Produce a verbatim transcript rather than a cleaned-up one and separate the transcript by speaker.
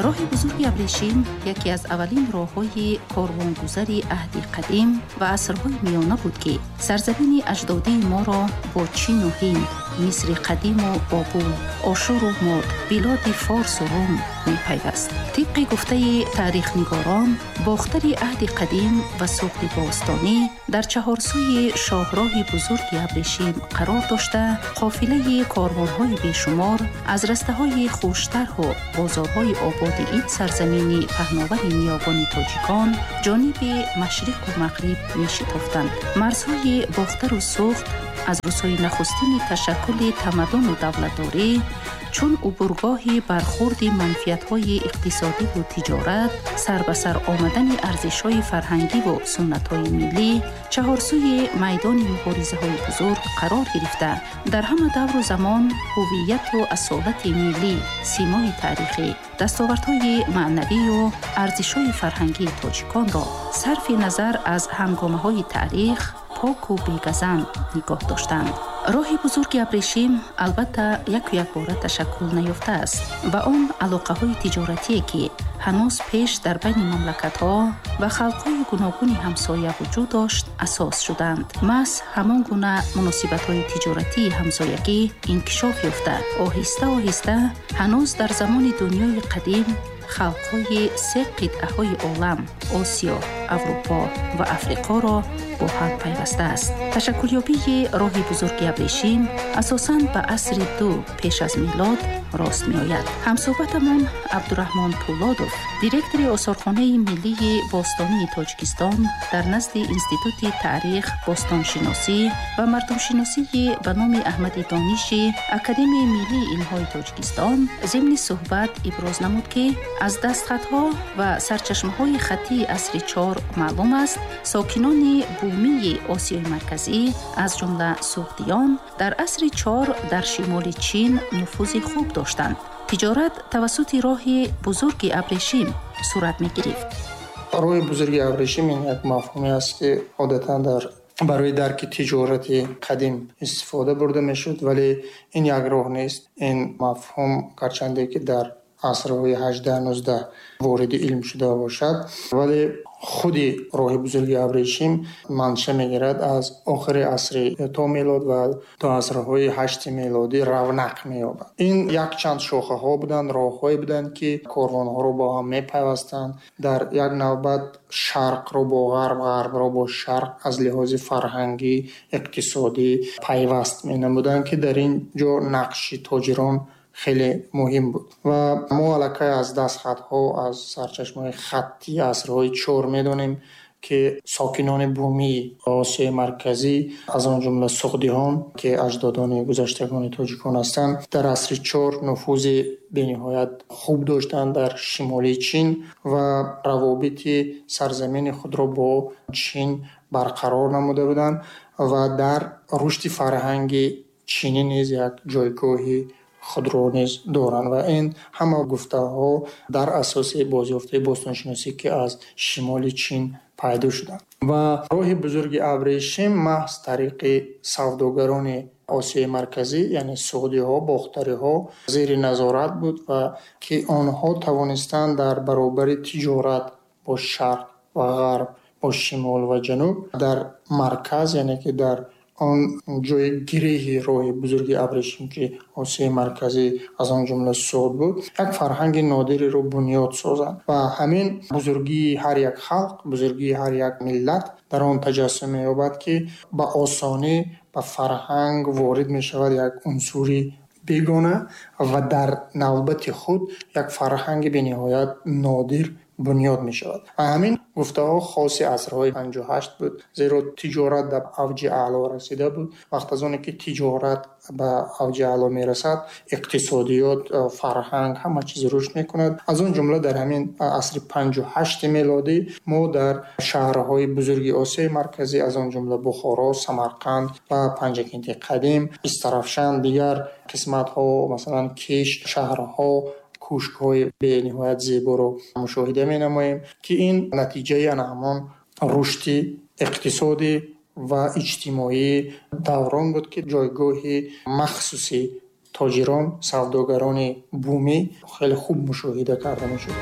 Speaker 1: Роҳи бузурги Абрешим яке аз аввалин роҳҳои корвонгузари аҳди қадим ва асрҳои миёна буд, ки сарзамини аҷдодии моро бо Чину Ҳинд, Мисри қадиму Бобул, Ошуру Мод, билоди Форсу Рум мепайваст. Тибқи гуфтаи таърихнигорон, Бохтари аҳди қадим ва Суғди бостонӣ дар чаҳорсӯи шоҳроҳи бузурги Абрешим қарор дошта, қофилаи корвонҳои бешумор аз растаҳои хуштарҳу бозорҳои ободи ин сарзамини паҳновари ниёгони тоҷикон ҷониби машриқу мағриб мешитофтанд. Марзҳои Бохтару Суғд аз рӯзҳои нахустини ташаккули тамаддуну давлатдорӣ чун убургоҳи бархурди манфиатҳои иқтисодиву тиҷорат, сар ба сар омадани арзишҳои фарҳангиву суннатҳои миллӣ, чаҳорсӯи майдони муборизаҳои бузург қарор гирифта, дар ҳама давру замон ҳувияту асолати миллӣ, симои таърихӣ, дастовардҳои маънавию арзишҳои фарҳангии тоҷиконро сарфи назар аз ҳангомаҳои таърих поку бегазанд нигоҳ доштанд. Роҳи бузурги Абрешим албатта яку якбора ташаккул наёфтааст. Ба он алоқаҳои тиҷоратие, ки ҳанӯз пеш дар байни мамлакатҳо ва халқҳои гуногуни ҳамсоя вуҷуд дошт, асос шуданд. Маҳз ҳамон гуна муносибатҳои тиҷоратии ҳамсоягӣ инкишоф ёфта, оҳиста оҳиста ҳанӯз дар замони дунёи қадим халқҳои се қитъаҳои олам — Осиё, Аврупо ва Африқоро бо ҳам пайвастааст. Ташаккулёбии роҳи бузурги Абрешим асосан ба асри ду пеш аз милод рост меояд. Ҳамсӯҳбатамон Абдураҳмон Пулодов, директори Осорхонаи миллии бостонии Тоҷикистон дар назди Институти таърих, бостоншиносӣ ва мардумшиносии ба номи Аҳмади Дониши Академияи миллии илмҳои Тоҷикистон, зимни суҳбат иброз намуд, ки аз дастхатҳо ва сарчашмаҳои хаттии асри чор маълум аст, сокинони бумии Осиёи Марказӣ, аз ҷумла суғдиён, дар асри чор дар шимоли Чин нуфузи хуб доштанд. Тиҷорат тавассути роҳи бузурги Абрешим сурат мегирифт.
Speaker 2: Роҳи бузурги Абрешим ин як мафҳуме аст, ки одатан дар барои дарки тиҷорати қадим истифода бурда мешуд, вале ин як роҳ нест. Ин мафҳум гарчанде ки дар асрҳои ҳаждаҳ нуздаҳ вориди илм шуда бошад, вале худи роҳи бузурги Абрешим манша мегирад аз охири асри то мелод ва то асрҳои ҳашти мелодӣ равнақ меёбад. Ин якчанд шохаҳо буданд, роҳҳое буданд, ки корвонҳоро бо ҳам мепайвастанд. Дар як навбат шарқро бо ғарб, ғарбро бо шарқ аз лиҳози фарҳангӣ, иқтисодӣ пайваст менамуданд, ки дар ин ҷо нақши тоҷирон хеле муҳим буд. Ва мо аллакай аз дастхатҳо, аз сарчашмаҳои хаттии асрҳои чор медонем, ки сокинони бумии Осиёи Марказӣ, аз он ҷумла суғдиҳон, ки аҷдодони гузаштагони тоҷикон ҳастанд, дар асри чор нуфузи бениҳоят хуб доштанд дар шимоли Чин ва равобити сарзамини худро бо Чин барқарор намуда буданд ва дар рушди фарҳанги чинӣ низ як ҷойгоҳи худро низ доранд. Ва ин ҳама гуфтаҳо дар асоси бозёфтаи бостоншиносӣ, ки аз шимоли Чин пайдо шуданд. Ва роҳи бузурги Абрешим маҳз тариқи савдогарони Осиёи Марказӣ, яъне суғдиҳо, бохтариҳо зери назорат буд ва ки онҳо тавонистанд дар баробари тиҷорат бо шарқ ва ғарб, бо шимол ва ҷануб, дар марказ, яъне ки дар он ҷои гиреҳи роҳи бузурги Абрешим, ки Осиёи Марказӣ, аз он ҷумла Суғд буд, як фарҳанги нодиреро бунёд созанд. Ва ҳамин бузургии ҳар як халқ, бузургии ҳар як миллат дар он таҷассум меёбад, ки ба осонӣ ба фарҳанг ворид мешавад як унсури бегона ва дар навбати худ як фарҳанги бениҳоят нодир бунёд мешавад. Ва ҳамин гуфтаҳо хоси асрҳои панҷу ҳашт буд, зеро тиҷорат дар авҷи аъло расида буд. Вақт аз оне ки тиҷорат ба авҷи аъло мерасад, иқтисодиёт, фарҳанг, ҳама чиз рушд мекунад. Аз он ҷумла дар ҳамин асри панҷу ҳашти мелодӣ мо дар шаҳрҳои бузурги Осиёи Марказӣ, аз он ҷумла Бухоро, Самарқанд ва Панҷакенти қадим, Истарафшан, дигар қисматҳо, масалан Кеш, шаҳрҳо, кӯшкҳои бениҳоят зеборо мушоҳида менамоем, ки ин натиҷаи ана ҳамон рушди иқтисодӣ ва иҷтимоии даврон буд, ки ҷойгоҳи махсуси Тоҷирон, савдогарони бумӣ хеле хуб мушоҳида карда мешуд.